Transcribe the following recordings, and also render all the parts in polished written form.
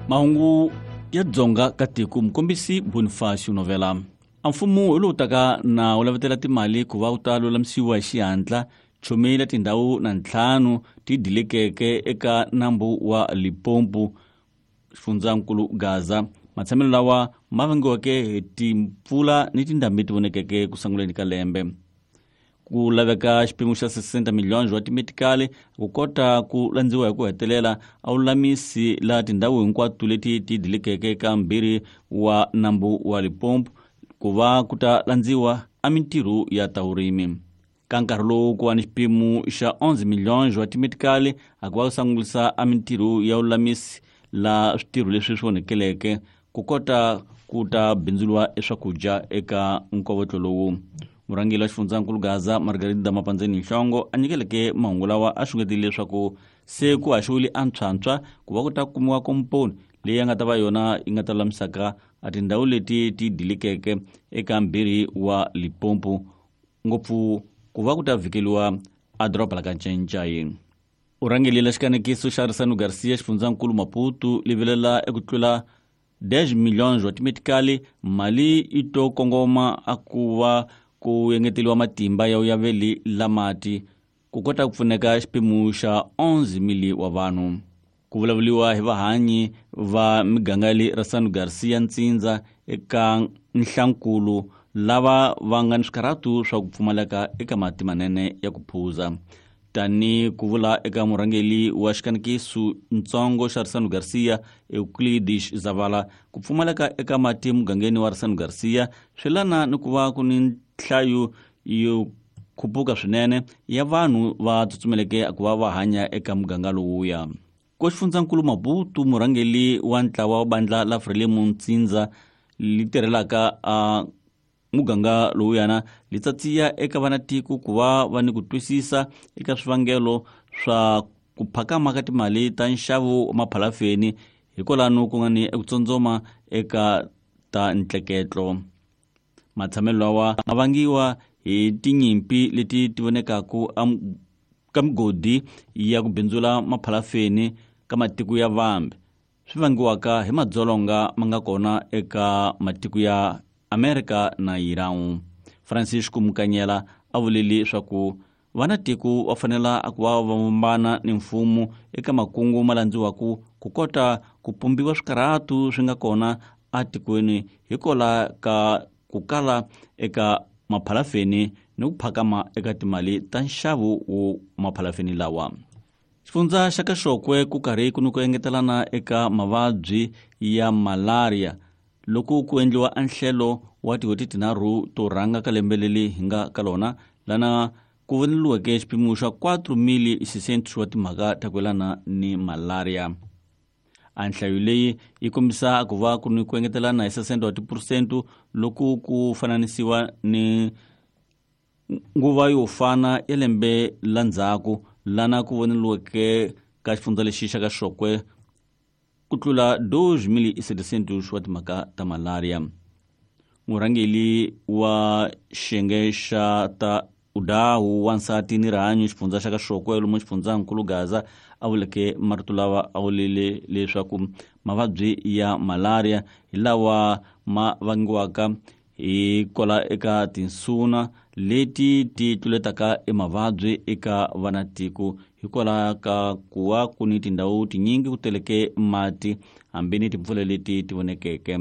Mahungu ya Dzonga ka tiko, mukombisi Bonifacio Novela. A mfumo hi lowu taka na wu lavetela timali ku va wu ta lulamisiwa hi xihatla chomi la tindhawu na ntlhanu ti dilekeke eka nambu wa Limpopo, xifundzankulu Gaza. Matshamelo lawa ma vangiweke hi timpfula ni tindhambi ti vonekeke ku sunguleni ka lembe. Ku laveka xipimo xa 60 miliyoni wa timetikali ku kota ku landziwa hi ku hetelela a lulamisi la tindhawu hinkwato leti ti dilekeke ka mbirhi wa nambu wa Limpopo ku va ku ta landziwa a mintirho ya ta vurimi. Ka nkarhi lowu ku va ni xipimo xa 11 miliyoni wa timetikali a ku va ku sangulisa a mintirho ya lulamisi la switirho leswi swi onhekeleke ku kota ku ta bindzuriwa eswakudya eka nkovotlo lowu. Murhangeri wa xifundzankulu Gaza Margarida Mapandzeni Nhlongo a nyikeleke mahungu lawa a xungetile leswaku se ku haxiwile antshwantshwa ku va ku ta kumiwa komponi leyi ya nga ta va yona yi nga ta lulamisaka a tindhawu leti ti dilikeke eka mbirhi wa Limpopo, ngopfu ku va ku ta vhikeliwa a doroba la ka Ncencai. U rhangelile xikanekiso xa Risano Garcia xifundzankulu Maputo livelela eku tlula 10 milhões wa timetikali mali yi to kongoma a ku va ku engeteliwa matimba ya uyaveli la mati ku kota ku pfuneka xipimo xa 11 mili wa vanhu. Ku vulavuriwa hi vahanyi va miganga le Rasano Garcia Ntsindza eka Nhlankulu lava va nga ni swikarhatu swa ku pfumaleka eka mati manene ya ku phuza. Tani ku vula eka murhangeri wa xikanekiso ntsongo xa Risano Garcia Euclides Zavala, ku pfumaleka eka mati mugangeni wa Risano Garcia swi lana ni ku va ku ni nhlayo yo khupuka swinene ya vanhu va tsutsumeleke ku va va hanya eka muganga lowuya. Ko xifundzankulu Maputo, murhangeri wa ntlawa wa bandla la Frelimo Ntsindza li tirhelaka a muganga lowuyana li tsatsiya eka vanatiko ku va va ni ku twisisa eka swivangelo swa ku phakama ka timali ta nxavo wa maphalafeni hikwalano ku nga ni eku tsondzoma eka ta ntleketlo. Matshamelo lawa ma vangiwa hi tinyimpi leti ti vonekaku ka migodi ya ku bindzula maphalafeni ka matiko ya vambe, swi vangiwaka hi madzolonga ma nga kona eka matiko ya Amerika na Iran. Francisco Mukanyela a vulile leswaku vanatiko va fanela ku va va vumbana ni mfumo eka makungu ma landziwaku ku kota ku pumbiwa swikarhatu swi nga kona atikweni hikola ka ku kala eka maphalafeni ni ku phakama eka timali ta nxavo wo maphalafeni lawa. Xifundza xa Kaxokwe ku karhi ku ni ku engetelana eka mavabyi ya malaria loko ku endliwa anhlelo wa tin'hweti tinharhu to rhanga ka lembe leri hi nga ka lona, lana ku voneliweke xipimo xa 4,600 wa timhaka ta ku yelana ni malaria. A nhlayo leyi yi kombisa ku va ku ni ku engetelana hi 60 wa tiphurosento loko ku fananisiwa ni nguva yo fana ya lembe la ndzhaku, lana ku voneliweke ka xifundza lexi xa ka Xokwe ku tlula 2,700 wa timhaka ta malaria. Murhangeri wa xiyenge xa ta udahu wansati ni rihanyo xifundza xa ka Xokwe lomu xifundzankulu Gaza a vuleke marito lawa a vulile leswaku mavabyi ya malaria hi lawa ma vangiwaka hi kwala eka tinsuna leti ti tluletaka emavabyi eka vanatiko hikwalaho ka ku va ku ni tindhawu tinyingi ku teleke mati hambi ni timpfula leti ti vonekeke.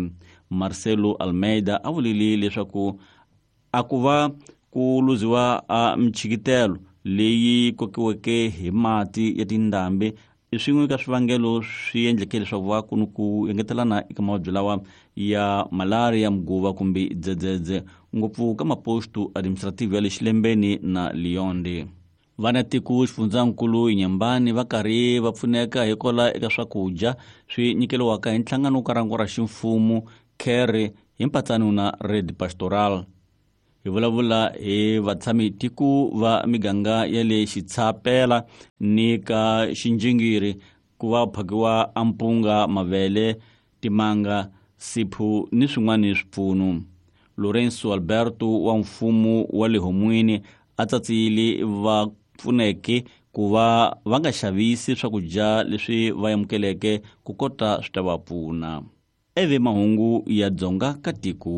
Marcelo Almeida a vulile leswaku a ku va ku luziwa a michikitelo leyi kokiweke hi mati ya tindhambi i swin'we ka swivangelo swi endleke leswaku va ku ni ku engetelana eka mavabyi lawa ya malaria, mguva kumbe dzedzedze, ngopfu ka maposto administrative ya le Xilembeni na Lionde. Vanatiko xifundzankulu Inyambani va karhi va pfuneka hikola eka swakudya swi nyikeliwaka hi nhlangano ka rango ra ximfumo CARE hi mpatsano na Red Pastoral. Hi vulavula hi vatshami tiko va miganga ya le Xitshapela ni ka Xinjingiri ku va phakiwa ampunga, mavele, timanga, siphu ni swin'wana swipfuno. Lorenzo Alberto wa mfumo wa le Homwini a tsatsile va pfuneke ku va va nga xavisi swakudya leswi va amukeleke ku kota swi ta va pfuna. Eve mahungu ya Dzonga ka tiko.